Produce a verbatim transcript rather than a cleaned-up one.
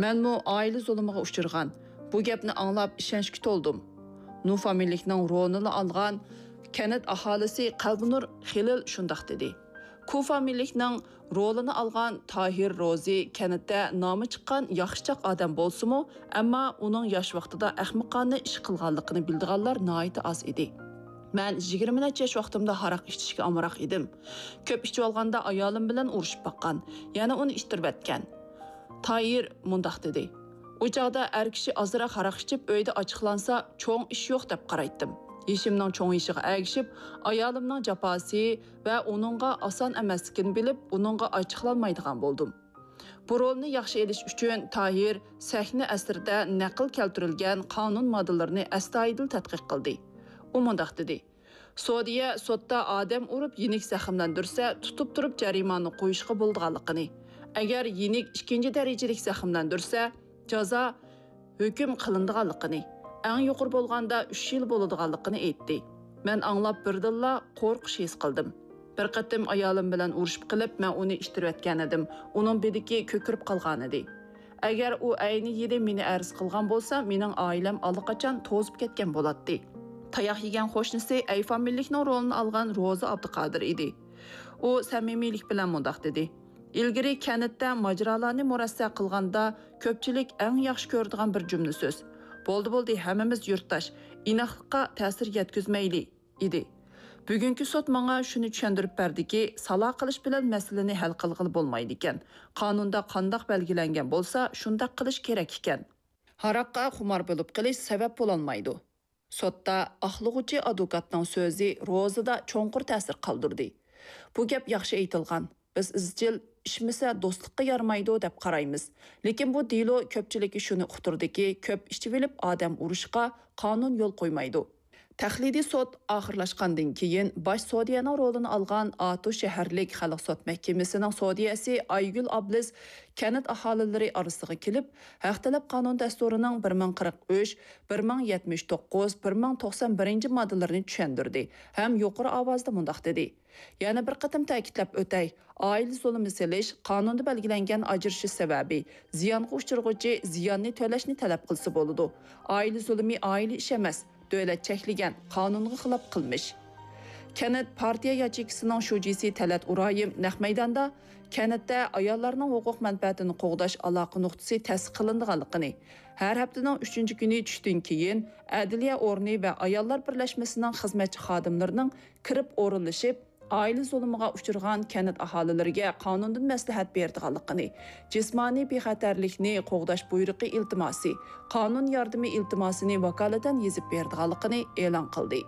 مەنمۇ ئائىلە زۇلۇمىغا ئۇچرىغان. بۇ گەپنى ئاڭلاپ ئىشەنچكە تولدۇم. نۇ فامىلىلىكنىڭ رولىنى ئالغان كەنت ئاھالىسى قەلبىنۇر خېلىل شۇنداق دېدى. كۇ فامىلىلىكنىڭ رولىنى ئالغان تاھىر روزى كەنتتە نامى چىققان ياخشىچاق ئادەم بولسىمۇ، ئەمما ئۇنىڭ ياش ۋاقتىدا ئەخمىقانە ئىش قىلغانلىقىنى بىلىدىغانلار ناھايىتى ئاز ئىدى. مەن يىگىرمە نەچچە ياش ۋاقتىمدا ھاراق ئىچىشكە ئامراق ئىدىم. كۆپ ئىچىۋالغاندا ئايالىم بىلەن ئۇرۇشۇپ باققان، يەنە ئۇنى ئىتتىرىۋەتكەن. تاھىر مۇنداق دېدى: ئۇ چاغدا ئەر كىشى ئازراق ھاراق ئىچىپ ئۆيدە ئاچچىقلانسا، چوڭ ئىش يوق دەپ قارايتتىم. يېشىمنىڭ چوڭىيىشىغا ئەگىشىپ، ئايالىمنىڭ جاپاسى ۋە ئۇنىڭغا ئاسان ئەمەسلىكىنى بىلىپ، ئۇنىڭغا ئاچچىقلانمايدىغان بولدۇم. بۇ رولنى ياخشى ئېلىش ئۈچۈن تاھىر سەھنە ئەسىرىدە نەقىل كەلتۈرۈلگەن قانۇن ماددىلىرىنى ئەستايىدىل تەتقىق قىلدى. ئۇ مۇنداق دېدى: سودىيە سوتتا ئادەم ئۇرۇپ يېنىك زەخىملەندۈرسە، تۇتۇپ تۇرۇپ جەرىمانە قويۇشقا بولىدىغانلىقىنى، ئەگەر يېنىك ئىككىنچى دەرىجىلىك زەخىملەندۈرسە، جازا ھۆكۈم قىلىنىدىغانلىقىنى، ئەڭ يۇقىرى بولغاندا ئۈچ يىل بولىدىغانلىقىنى ئېيتتى. مەن ئاڭلاپ بىردىنلا قورقۇش ھېس قىلدىم. بىر قېتىم ئايالىم بىلەن ئۇرۇشۇپ قېلىپ، مەن ئۇنى ئىتتىرىۋەتكەنىدىم. ئۇنىڭ بىلىكى كۆكىرىپ قالغانىدى. ئەگەر ئۇ ئەينى يىلى مېنى ئەرز قىلغان بولسا، مېنىڭ ئائىلەم ئاللىقاچان توزۇپ كەتكەن بولاتتى. تاياق يېگەن قوشنىسى ئەي فامىلىلىكنىڭ رولىنى ئالغان روزا ئابدۇقادىر ئىدى. ئۇ سەمىمىيلىك بىلەن مۇنداق دېدى: ئىلگىرى كەنتتە ماجىرالارنى مۇرەسسە قىلغاندا، كۆپچىلىك ئەڭ ياخشى كۆرىدىغان بىر جۈملە سۆز: «بولدى، بولدى، ھەممىمىز يۇرتداش، ئىناقلىققا تەسىر يەتكۈزمەيلى» ئىدى. بۈگۈنكى سوت ماڭا شۇنى چۈشەندۈرۈپ بەردىكى، سالا قىلىش بىلەن مەسىلىنى ھەل قىلغىلى بولمايدىكەن. قانۇندا قانداق بەلگىلەنگەن بولسا، شۇنداق قىلىش كېرەك ئىكەن. ھاراققا خۇمار بولۇپ قېلىش سەۋەب بولالمايدۇ. سوتتا ئاقلىغۇچى ئادۋوكاتنىڭ سۆزى روزىدا چوڭقۇر تەسىر قالدۇردى. بۇ گەپ ياخشى ئېيتىلغان. بىز ئىزچىل «ئىچمىسە دوستلۇققا يارىمايدۇ» دەپ قارايمىز. لېكىن بۇ دېلو كۆپچىلىكى شۇنى ئۇقتۇردىكى، كۆپ ئىچىۋېلىپ ئادەم ئۇرۇشقا قانۇن يول قويمايدۇ. تەقلىدىي سوت ئاخىرلاشقاندىن كېيىن، باش سودىيەنىڭ رولىنى ئالغان ئاتۇش شەھەرلىك خەلق سوت مەھكىمىسىنىڭ سودىيەسى ئايگۈل ئابلىز كەنت ئاھالىلىرى ئارىسىغا كېلىپ، ھەق تەلەپ قانۇن دەستۇرىنىڭ بىر مىڭ قىرىق ئۈچ، بىر مىڭ يەتمىش توققۇز، بىر مىڭ توقسان بىرىنچى ماددىلىرىنى چۈشەندۈردى ھەم يۇقىرى ئاۋازدا مۇنداق دېدى: يەنە بىر قېتىم تەكىتلەپ ئۆتەي، ئائىلە زۇلۇمى سېلىش، قانۇندا بەلگىلەنگەن ئاجرىشىش سەۋەبى، زىيانغا ئۇچرىغۇچى زىياننى تۆلەشنى تەلەپ قىلسا بولىدۇ. ئائىلە زۇلۇمى ئائىلە ئىشى ئەمەس، دۆلەت چەكلىگەن، قانۇنغا خىلاپ قىلمىش. كەنت پارتىيە ياچېيكىسىنىڭ شۇجىسى تەلەت ئۇرايىم نەق مەيداندا كەنتتە ئاياللارنىڭ ھوقۇق مەنپەئەتىنى قوغداش ئالاقە نۇقتىسى تەسىس قىلىنىدىغانلىقىنى، ھەر ھەپتىنىڭ ئۈچىنچى كۈنى چۈشتىن كېيىن ئەدلىيە ئورنى ۋە ئاياللار بىرلەشمىسىنىڭ خىزمەتچى خادىملىرىنىڭ كىرىپ ئورۇنلىشىپ، ئائىلە زۇلۇمىغا ئۇچرىغان كەنت ئاھالىلىرىگە قانۇندىن مەسلىھەت بېرىدىغانلىقىنى، جىسمانىي بىخەتەرلىكنى قوغداش بۇيرۇقى ئىلتىماسى، قانۇن ياردىمى ئىلتىماسىنى ۋاكالىتەن يېزىپ بېرىدىغانلىقىنى ئېلان قىلدى.